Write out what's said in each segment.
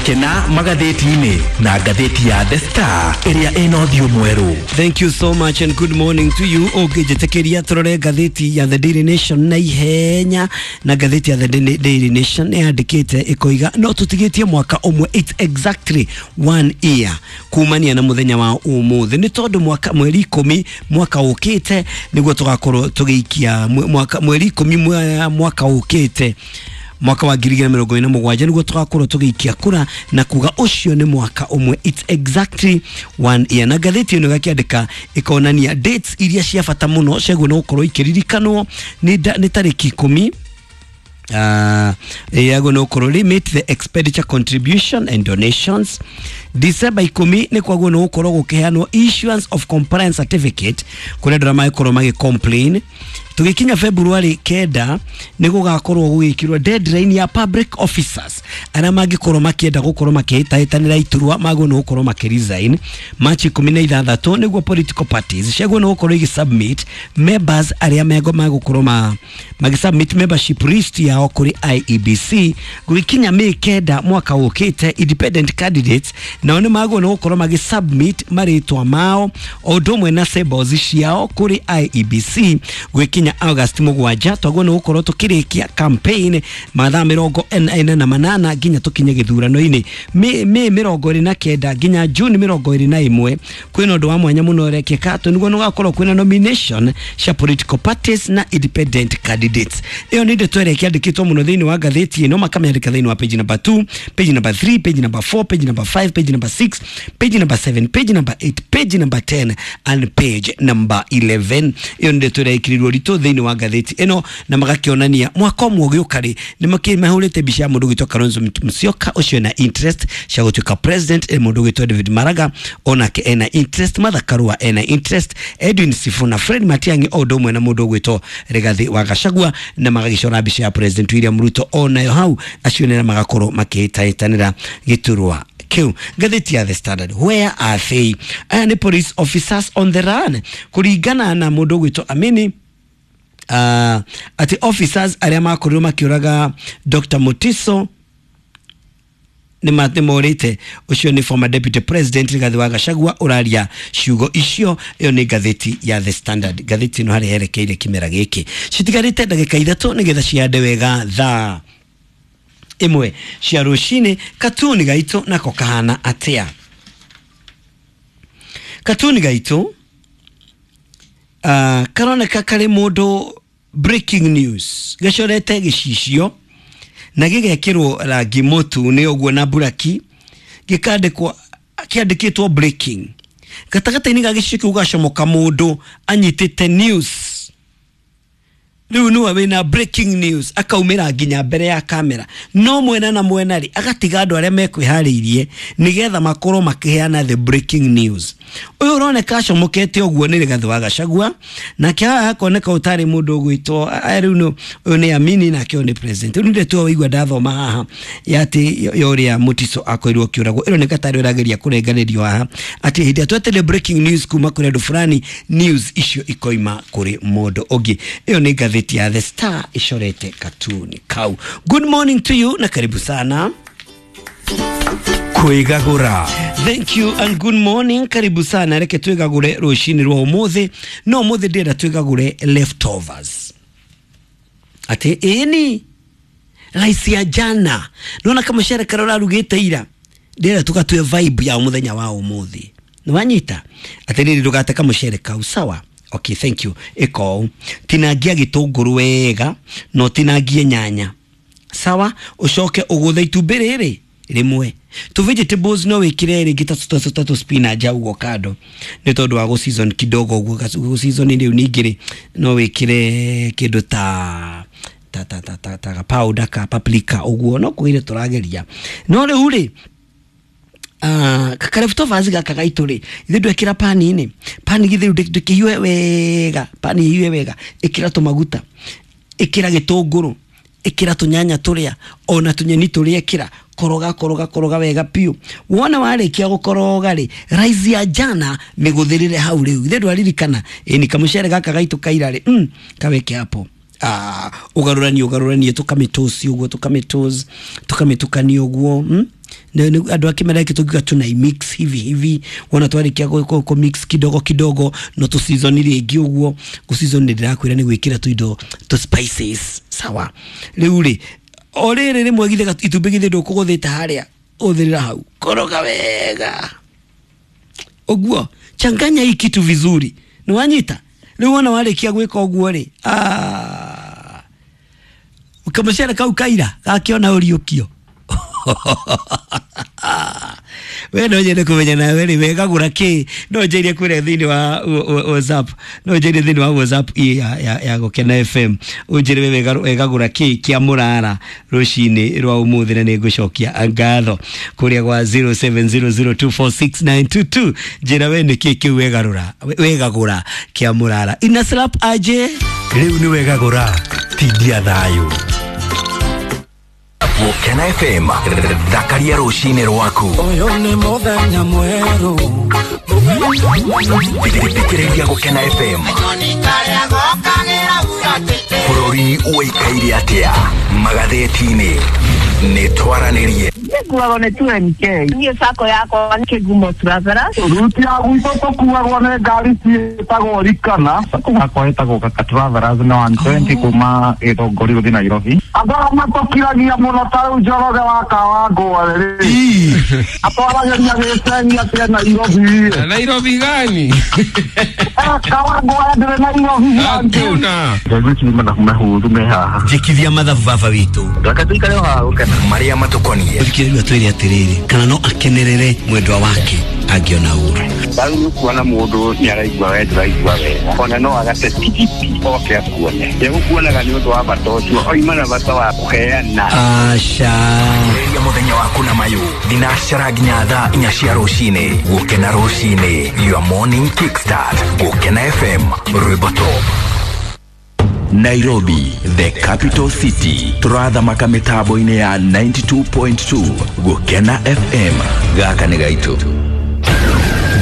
Gũkena magathĩti-inĩ na ngathĩti ya The Star ĩrĩa ĩna ũthiũ mwerũ. Thank you so much and good morning to you. Ũngĩnjĩtĩkĩria tũrore ngathĩti ya The Daily Nation na ihenya, na ngathĩti ya The Daily Nation nĩ yandĩkĩte ĩkoiga no tũtigĩtie mwaka ũmwe, it's exactly one year kumania na mũthenya wa ũmũthĩ, nĩ tondũ mwaka mweri 10 mwaka ũkĩte nĩguo tũgakorwo tũgĩikia mwaka mweri 10 mwaka ũkĩte, mwaka wa 2027, nĩguo tũgakorwo tũgĩikia kura na kuga ũcio nĩ mwaka ũmwe, it's exactly one year. Na ngathĩti ĩno ĩgakĩandĩka ĩkonania dates iria cia bata mũno ciagwo nĩ gũkorwo ikĩririkanwo nĩ tarĩki 10 yagwo no gũkorwo limit the expenditure, contribution and donations. December 10 nĩ kwagwo nĩ gũkorwo gũkĩheanwo issuance of compliance certificate kũrĩ andũ arĩa magĩkorwo magĩ complain. Tũgĩkinya February 9 nĩ gũgakorwo gũgĩkĩrwo deadline ya public officers arĩa mangĩkorwo makĩenda gũkorwo makĩhĩtahĩtanĩra iturwa magwo nĩ gũkorwo makĩresign. March 16 nĩguo political parties ciagwo nĩ gũkorwo igĩsubmit members arĩa mego magũkorwo magĩsubmit membership list yao kũrĩ IEBC. Gũgĩkinya May 9 mwaka ũkĩte, independent candidates nao nĩ magwo nĩ gũkorwo magĩsubmit marĩtwa mao o ũndũ ũmwe na symbols ciao kũrĩ IEBC. Gũgĩkinya August 7 twagwo nĩ gũkorwo tũkĩrĩkia campaign mathaa 48 nginya tũkinye gĩthurano-inĩ. May 29 nginya June 21 kwĩna ũndũ wa mwanya mũno ũrekĩka tondũ nĩguo nĩgũgakorwo kwĩna nomination cia political parties na independent candidates. Ĩyo nĩ ndeto ĩrĩa ĩkĩandĩkĩtwo mũno thĩinĩ wa ngathĩti ĩno, makamĩandĩka thĩinĩ wa page number 2, page number 3, page number 4, page number 5, page number 6, page number 7, page number 8, page number 10 and page number 11. Ĩyo nĩ ndeto ĩrĩa ĩkĩrirwo ritũ thĩinĩ wa ngathĩti ĩno, na magakĩonania mwaka ũmwe ũgĩũka rĩ nĩ mahũrĩte mbica ya mũndũ ũgwĩtwo Kalonzo Musyoka, ũcio ena interest cia gũtuĩka president, mũndũ ũgwĩtwo David Maraga onake ena interest, Martha Karua ena interest, Edwin Sifuna, Fred Matiang'i o ũndũ ũmwe na mũndũ ũgwĩtwo Rigathi wa Gachagua, na magagĩcora mbica ya President William Ruto onayo hau, acio nĩ magakorwo makĩhĩtahĩtanĩra gĩturwa kĩu. Ngathĩti ya The Standard, where are they? Aya nĩ police officers on the run kũringana na mũndũ ũgwĩtwo Amini, atĩ officers arĩa makorirwo makĩũraga Dr. Mutiso nĩ morĩte. Ũcio nĩ former deputy president Rigathi wa Gachagua ũraria ciugo icio. Ĩyo nĩ ngathĩti ya The Standard. Ngathĩti ĩno harĩa yerekeire kĩmera gĩkĩ, citigarĩte ndagĩka 3 nĩgetha cihande wega thaa 1 cia rũcinĩ. Katuni gaitũ nako kahana atĩa? Katuni gaitũ karoneka karĩ mũndũ breaking news gacorete gĩcicio na gĩgekĩrwo rangi mũtune ũguo na buraki, gĩkandĩkwo kĩandĩkĩtwo breaking. Gatagatĩ-inĩ ga gĩcicio kĩu gacomoka mũndũ anyitĩte news, rĩu nĩwe wĩna breaking news, akaumĩra nginya mbere ya kamera, no mwena na mwena rĩ agatiga andũ arĩa mekwĩharĩirie nĩgetha makorwo makĩheana the breaking news. Ũyũ ũroneka acomokete ũguo nĩ Rigathi wa Gachagua, nake haha hakoneka ũtarĩ mũndũ ũgwĩtwo rĩu ũyũ nĩ Amini, nake ũyũ nĩ president. Rĩu nĩ waigua ndathoma haha ya atĩ ya ũrĩa Mutiso akorirwo akĩũragwo, ĩroneka tarĩ ũrageria kũrenganĩrio haha atĩ hĩndĩ ĩrĩa twetereire breaking news kuma kũrĩ andũ fulani, news icio ikoima kũrĩ mũndũ ũngĩ. Ĩyo nĩ ngathĩti ya The Star icorete katuni kau. Good morning to you na karibu sana. Kwĩgagũra. Thank you and good morning, karibu sana. Reke twĩgagũre rũcinĩ rwa ũmũthĩ, no ũmũthĩ ndĩrenda twĩgagũre leftovers, atĩ ĩni rice ya jana, nona kamũcere karĩa ũrarugĩte ira, ndĩrenda tũgatue vibe ya mũthenya wa ũmũthĩ. Nĩwanyita atĩrĩrĩ, ndũgate kamũcere kau, sawa? Okay, thank you. Ĩka ũũ, tinangia gĩtũngũrũ wega na ũtinangie nyanya, sawa? Ũcoke ũgũthe itumbĩ rĩrĩ rĩmwe tu vegetables, no wĩkĩre rĩngĩ ta tũ spinach ũguo kando nĩ tondũ wa gũ season kidogo ũguo, gũ season rĩu. Ningĩ rĩ no wĩkĩre kĩndũ ta powder ka paprika ũguo, no kũgeria tũrageria. No rĩu rĩ kaleftovers gaka gaitũ rĩ, ithuĩ ndwekĩra pani-inĩ, pani githĩ rĩu ndĩkĩhiũhe wega, pani ĩhiũhe wega, ĩkĩra tũmaguta, ĩkĩra gĩtũngũrũ, ĩkĩra tũnyanya tũrĩa ona tũnyeni tũrĩa, ĩkĩra, koroga koroga koroga wega piũ. Wona warĩkia gũkoroga rĩ, rice ya jana mĩgũthĩrĩre hau. Rĩu ithe ndwaririkana ĩni kamũcere gaka gaitũ kaira rĩ, kaweke hapo. Ũgarũranie ũgarũranie, tũkamĩtosi ũguo, tũkamĩtosi, tũkamĩtukania ũguo. Andũ a kĩmera gĩkĩ tũngiuga tunaimix hivi hivi, wona twarĩkia kũ mix kidogo kidogo no tũ season rĩngĩ ũguo. Gũ season nĩ ndĩrakwĩra nĩ gwĩkĩra tũindo tũ spices, sawa. Rĩu rĩ o rĩrĩ rĩmwe githĩ itumbĩ githĩ ndũkũgũthĩte harĩa ũthĩrĩra hau, koroga wega ũguo, changanya hii kitu vizuri, nĩ wanyita. Rĩu wona warĩkia gwĩka ũguo rĩ, kamũcere kau kaira gakĩona ũriũkio. We no nyende kũmenya nawe rĩ, wegagũra kĩ? No njĩire kũrĩa thĩinĩ wa WhatsApp, no njĩire thĩinĩ wa WhatsApp ya Gũkena FM, ũnjĩre we wegagũra kĩ kĩa mũrara rũcinĩ rwa ũmũthĩ, na nĩngũcokia ngatho kũrĩa gwa 0700246922. Njĩra we nĩ kĩ kĩu wegagũra kĩa mũrara. Ina slap aje rĩu nĩ wegagũra tindia thayũ. Gũkena FM, thakaria rũcinĩ rwaku. Ũyũ nĩ mũthenya mwerũ. Thikĩrĩria Gũkena FM. Bũrũri ũikaire atĩa magathĩti-inĩ? Nĩ twaranĩrie. Nĩkuagwo nĩ 2NK. Niĩ sacco yakwa nĩ Kĩgumo Travelers. Ruti ya gwitũ tũkuagwo nĩ ngari ciĩtagwo Rikana. Sacco yakwa ĩtagwo Kaka Travelers na 120 kuma Gĩthũngũri gũthiĩ Nairobi. Andũ arĩa matũkiragia mũno ta rĩu Njoroge wa Kawangware rĩ, atwaragĩria gĩceni atĩ e Nairobi. Nairobi gani? Kawangware ndĩrĩ Nairobi. Hakuna. Ngari ici nĩ mathabu mehũthũ me haha. Njĩkithia mathabu baba witũ. Reke tũikare o haha Gũkena. Marĩa matũkoniĩ. Thikĩrĩria twĩre atĩrĩrĩ, kana no akenerere mwendwa wake angĩona ũru. Rĩu nĩ ũkuona mũndũ nĩ araigua we ndũraigua wega, ona no agate tigiti oke akuone. Egũkuonaga nĩ ũndũ wa bata ũcio, oima na bata wa kũheana. Aca. Ambĩrĩria mũthenya waku na mayũ thinacara nginya thaa 4 cia rũcinĩ. Gũkena rũcinĩ, your morning kickstart. Gũkena FM, rwĩmbo top. Nairobi, the capital city. Tũrathamaka mĩtambo-inĩ ya 92.2 Gũkena FM. Gaka nĩ gaitũ.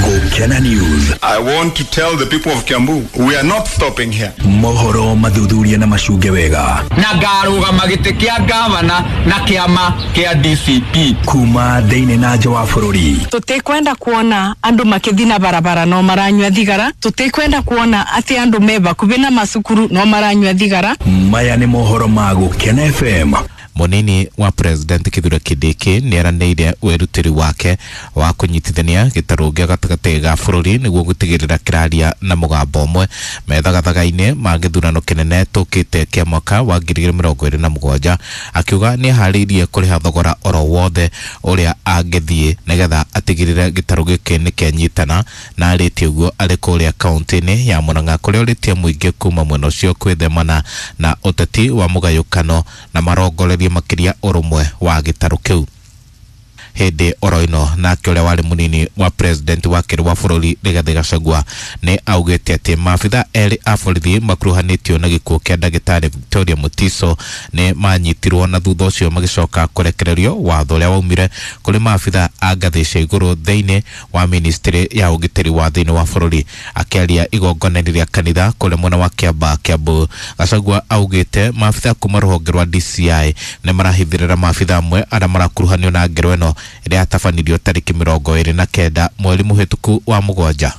Gũkena News. I want to tell the people of Kiambu, we are not stopping here. Mohoro mathuthuria na macunge wega. Na ngarũgama gĩtĩ kĩa gavana na kĩama kĩa DCP. Kuma thĩinĩ na nja wa bũrũri. Tũtikwenda kuona andũ makĩthi na barabara no maranyua thigara. Tũtikwenda kuona atĩ andũ me bakubi na macukuru no maranyua thigara. Maya nĩ mohoro ma Gũkena FM. Munini wa President Kithure Kindiki nĩeranĩire wĩrutĩri wake wa kũnyitithania gĩtarũ gĩa gatagatĩ ga bũrũri nĩguo gũtigĩrĩra kĩraria na mũgambo ũmwe methagathagainĩ ma gĩthurano kĩnene tũkĩte kĩa mwaka wa 2027, akiuga nĩeharĩirie kũrĩha thogora oro wothe ũrĩa angĩthiĩ nĩgetha atigĩrĩre gĩtarũ gĩkĩ nĩkĩanyitana, na arĩtie ũguo arĩ kũrĩa kaũntĩ-inĩ ya Murang'a kũrĩa ũrĩtie mũingĩ kuma mwena ũcio kwĩthemana na ũteti wa mũgayũkano na marongorerie makĩria ũrũmwe wa gĩtarũ kĩu. Hĩndĩ oro ĩno nake ũrĩa warĩ mũnini wa president wa kerĩ wa bũrũri Rigathĩ Gachagua nĩ augĩte atĩ maabitha erĩ a borithi makuruhanĩtio na gĩkuũ kĩa ndagĩtarĩ Victoria Mutiso nĩ manyitirwo na thutha ũcio magĩcoka kũrekererio watho ũrĩa waumire kũrĩ maabitha a ngathĩ cia igũrũ thĩinĩ wa ministry ya ũgitĩri wa thĩinĩ wa bũrũri. Akĩaria igongona-inĩ rĩa kanitha kũrĩa mwena wa Kĩambaa Kiambu, Gachagua augĩte maabitha kuma rũhonge rwa DCI nĩ marahithĩrĩra maabitha amwe arĩa marakuruhanio na ngero ĩno ĩrĩa yatabanirio tarĩki 29 mweri mũhĩtũku wa mũgwanja.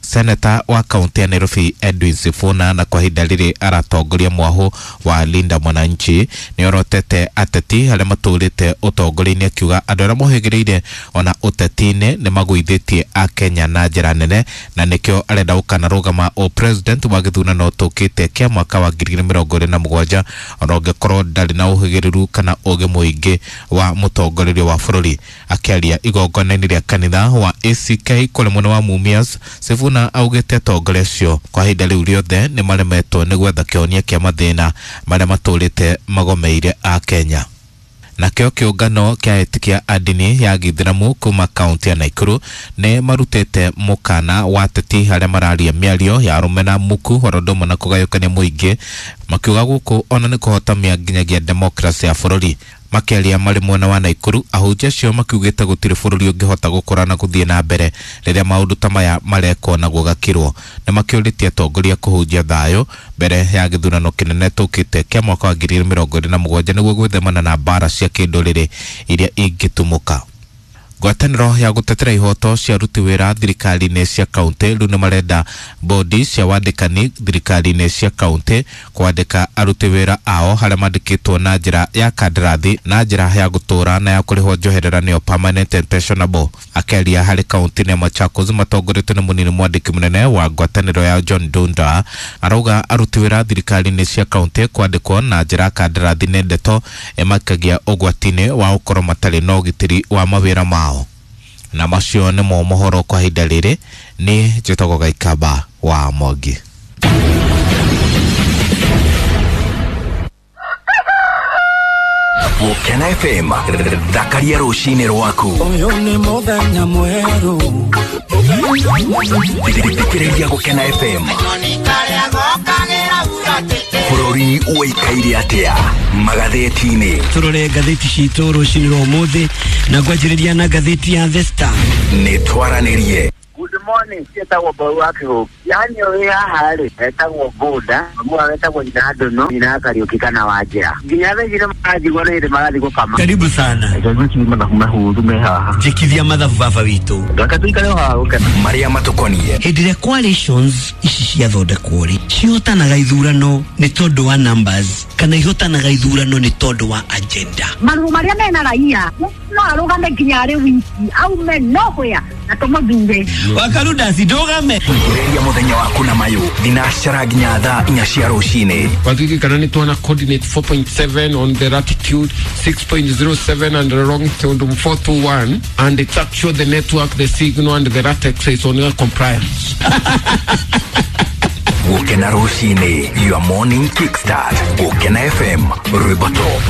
Seneta wa kaunti ya Nairobi Edwin Sifuna na kwa ihinda rĩrĩ aratongoria mwahũ wa Linda Mwananchi nĩorotete ateti arĩa matũrĩte ũtongoria-inĩ, akiuga andũ arĩa mohĩgĩrĩire ona ũteti-inĩ nĩmagũithĩtie Akenya na njĩra nene, na nĩkĩo arenda gũkanarũgama o president wa gĩthurano tũkĩte kĩa mwaka wa 2027 ona ũngĩkorwo ndarĩ na ũhĩgĩrĩru kana ũgĩ mũingĩ wa mũtongoreria wa bũrũri. Akĩaria igongona-inĩ rĩa kanitha wa ACK kũrĩa mwena wa Mumias, Sifuna augĩte atongoria acio kwa ihinda rĩu rĩothe nĩ maremetwo nĩ gwetha kĩhonia kĩa mathĩna marĩa matũrĩte magomeire a Kenya. Nakĩo kĩũngano kĩa etĩkia a ndini ya gĩithĩramu kuma kaunti ya Naikuru nĩ marutĩte mũkana wa ateti arĩa mararia mĩario ya arũme na muku oro ũndũ ũmwe na kũgayũkania mũingĩ, makiuga gũkũ ona nĩ kũhotomia nginyagia demokrasi ya bũrũri. Makĩaria marĩ mwena wa Naikuru, ahunjia acio makiugĩte gũtirĩ bũrũri ũngĩhota gũkũra na gũthiĩ na mbere rĩrĩa maũndũ ta maya marekwo na gũgakirwo. Nĩ makĩũrĩtie atongoria kũhunjia thayũ mbere ya gĩthurano kĩnene tũkĩte kĩa mwaka wa 2027 nĩguo gwĩthemana na mbara cia kĩndũrĩrĩ iria ingĩtumũka. Ngwatanĩro ya gũtetera ihoto cia aruti wĩra thirikari-inĩ cia kaunti rĩu nĩ marenda bodi cia wandĩkani thirikari-inĩ cia kaunti kwandĩka aruti wĩra ao harĩa mandĩkĩtwo na njĩra ya kandarathi na njĩra ya gũtũũra na ya kũrĩhwo njoherera nĩyo permanent and pensionable. Akĩaria harĩ kaunti ya Machakos matongoretio nĩ mũnini mwandĩki mũnene wa ngwatanĩro ya John Dunda arauga aruti wĩra thirikari-inĩ cia kaunti kwandĩkwo na njĩra ya kandarathi nĩ ndeto ĩmakagia ũgwati-inĩ wa gũkorwo matarĩ na ũgitĩri wa mawĩra mao. Na macio nĩmo mohoro kwa ihinda rĩrĩ. Nĩ njĩtagwo Gaikamba wa Mwangi. Gũkena FM, thakaria rũcinĩ rwaku. Ũyũ nĩ mũthenya mwerũ. Thikĩrĩria Gũkena FM. Bũrũri ũikaire atĩa magathĩti-inĩ? Tũrore ngathĩti citũ rũcinĩ rwa ũmũthĩ na ngwanjĩrĩria na ngathĩti ya The Star. Nĩ twaranĩrie. Good morning, ciĩtagwo Mbau wa Kĩhũngĩ. Yani ũrĩ haha rĩ, etagwo Bũnda, mamu etagwo nyina Ndũnũ, nyina Kariũki kana Wanjĩra. Nginya thaa ici nĩ maranjigua nĩ hĩndĩ marathiĩ gũkama. Karibu sana. Ngwĩciria mathabu mahũthũ me haha. Njĩkithia mathabu baba witũ. Reke tũikare o haha gũkena. Marĩa matũkoniĩ. Hĩndĩ ĩrĩa coalitions ici ciathondekwo rĩ, cihotanaga ithurano nĩ tondũ wa numbers kana ihotanaga ithurano nĩ tondũ wa agenda. Marũa marĩa mena raia no arũgame nginya arĩ wiki aume nowhere na tũmũthure. Wakarudasi ndũgame. Ambĩrĩria mũthenya waku na mayũ thinacara nginya thaa 4 cia rũcinĩ. Wathiki nĩ tuona coordinate 4.7 on the latitude, 6.07 and the longitude 421, and it's actually the network, the signal and the latex is on your compliance. Gũkena rũcinĩ, your morning kickstart. Gũkena FM, rwĩmbo top.